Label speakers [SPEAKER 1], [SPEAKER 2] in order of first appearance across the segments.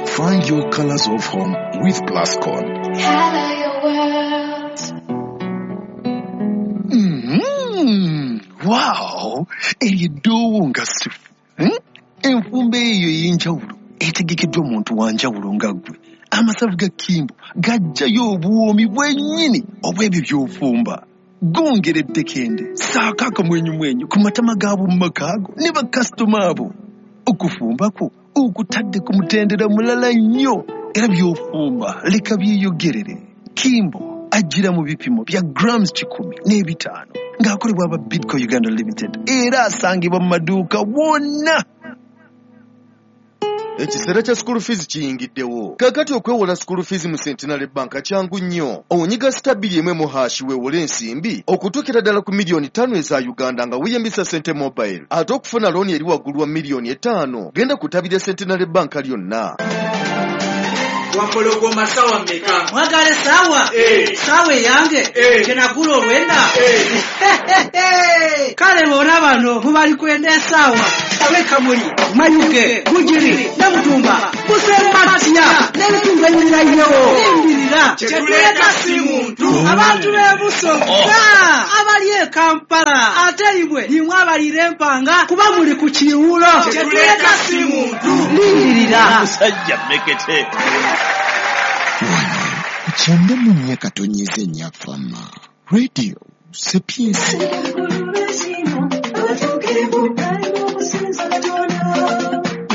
[SPEAKER 1] Find your colors of home with Plascon.
[SPEAKER 2] Color your world.
[SPEAKER 1] Wow! Eryo eddoowo nga sifu. Enfumba eyo ey'enjawulo etegekeddwa omuntu wa njawulo nga ggwe. Amasavu ga Kimbo gajjayo obuwoomi bwennyini obw'ebyo by'ofumba. Gongera eddekende, ssaako akamwenyumwenyu ku matama g'ab'omu maka go ne bakasitoma abo. Okufumba kwo okutadde ku mutendera mulala nnyo era by'ofumba leka byeyogerere. Kimbo ajjira mu bipimo bya grams 105 ng'akolebwa aba Bidco Uganda Limited era asangibwa mu maduuka wonna.
[SPEAKER 3] Ekiseera kya school fees kiyingiddewo. Kaakati okwewola school fees mu Centenary Bank kyangu nnyo. Onyiga *2 1# weewole ensimbi okutuukira ddala ku miliyoni 5 eza Uganda nga weeyambisa Sente Mobile. Ate okufuna looni eri waggulu wa miliyoni 5, genda ku ttabi lya Centenary Bank lyonna.
[SPEAKER 4] Wampologoma, sawa mmeka?
[SPEAKER 5] Mwagala essaawa?
[SPEAKER 4] Eh.
[SPEAKER 5] Saawa eyange?
[SPEAKER 4] Eh.
[SPEAKER 5] Kyenagula olwenda?
[SPEAKER 4] Eh.
[SPEAKER 5] Kale bona bano mubali kwenda essaawa abekamuli, Mayuge, Bugiri, Namutumba, Busembatya n'ebitundu ebirirayirewo limbirira.
[SPEAKER 4] Kyetuleeta si muntu.
[SPEAKER 5] Abantu b'Ebusoga abali e Kampala, ate imwe nimwe abalira empanga kuba muli ku kiwulo.
[SPEAKER 4] Kyetuleeta si muntu.
[SPEAKER 5] Lindirira.
[SPEAKER 6] Musajja mmekete.
[SPEAKER 7] Wano ku 94.4 Fama Radio Sapientia.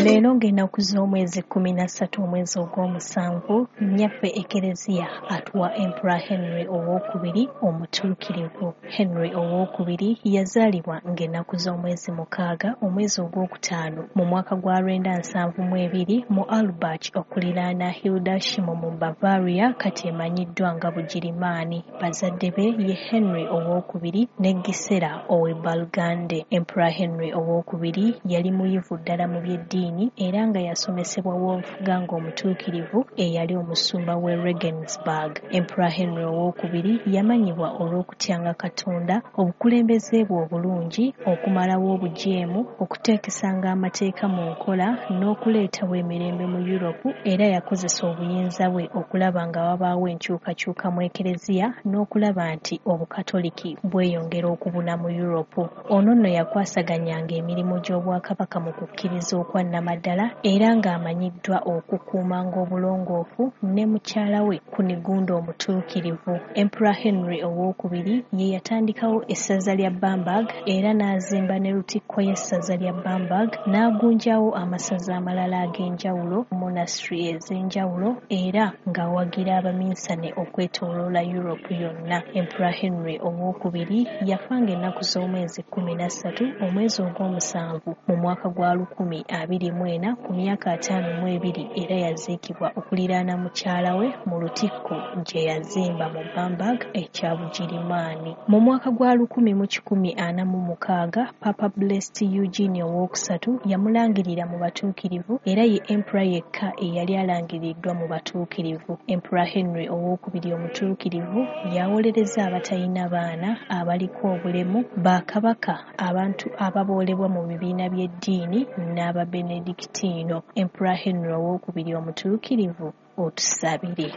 [SPEAKER 8] Leero ng'ennaku z'omwezi 13 omwezi ogw'omusanvu, nnyaffe Ekereziya atuwa Emperor Henry Owookubiri omutuukirivu. Henry Owookubiri yazaalibwa ng'ennaku z'omwezi 6 omwezi ogwokutaano mu mwaka gwa 972 mu Albach okuliraana Hildesheim mu Bavaria, kati emanyiddwa nga Bugirimaani. Bazadde be ye Henry Owookubiri ne Gisela ow'e Burgundy. Emperor Henry Owookubiri yali muyivu ddala mu by'eddiini era nga yasomesebwa Wolfgang omutuukirivu eyali omusumba w'e Regensburg. Emperor Henry Owookubiri yamanyibwa olw'okutyanga Katonda, obukulembeze bwe obulungi, okumalawo obujeemu, okuteekesanga amateeka mu nkola n'okuleetawo emirembe mu Europe, era yakozesa obuyinza bwe okulaba nga wabaawo enkyukakyuka mu Ekereziya n'okulaba nti Obukatoliki bweyongera okubuna mu Europe. Ono nno yakwasaganyanga emirimu gy'obwakabaka mu kukkiriza okwa nnamaddala era ng'amanyiddwa okukuumanga obulongoofu ne mukyala we Kunigunda omutuukirivu. Emperor Henry Owookubiri ye yatandikawo essaza lya Bamberg era n'azimba ne lutikko y'essaza lya Bamberg, n'agunjawo amasaza amalala ag'enjawulo, monastery ez'enjawulo, era ng'awagira abaminsane okwetooloola Europe yonna. Emperor Henry Owookubiri yafa ng'ennaku z'omwezi 13 omwezi ogw'omusanvu mu mwaka gwa 1024 ku myaka 52, era yaziikibwa okuliraana mukyala we mu lutikko gye yazimba mu Bamberg ekya Bugirimaani. Mu mwaka gwa 1146 Papa Blessed Eugene Owokusatu yamulangirira mu batuukirivu, era ye Emperor yekka eyali alangiriddwa mu batuukirivu. Emperor Henry Owookubiri omutuukirivu yawolereza abatalina baana, abaliko obulemu, bakabaka, abantu ababoolebwa mu bibiina by'eddiini n'Ababenedikitiino. Emperor Henry Owookubiri omutuukirivu, otusabire.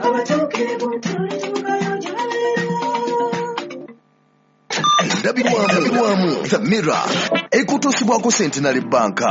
[SPEAKER 2] Abatuukirivu tulituukayo gye babeera.
[SPEAKER 3] Endabirwamu The Mirror ekutuusibwako Centenary Bank.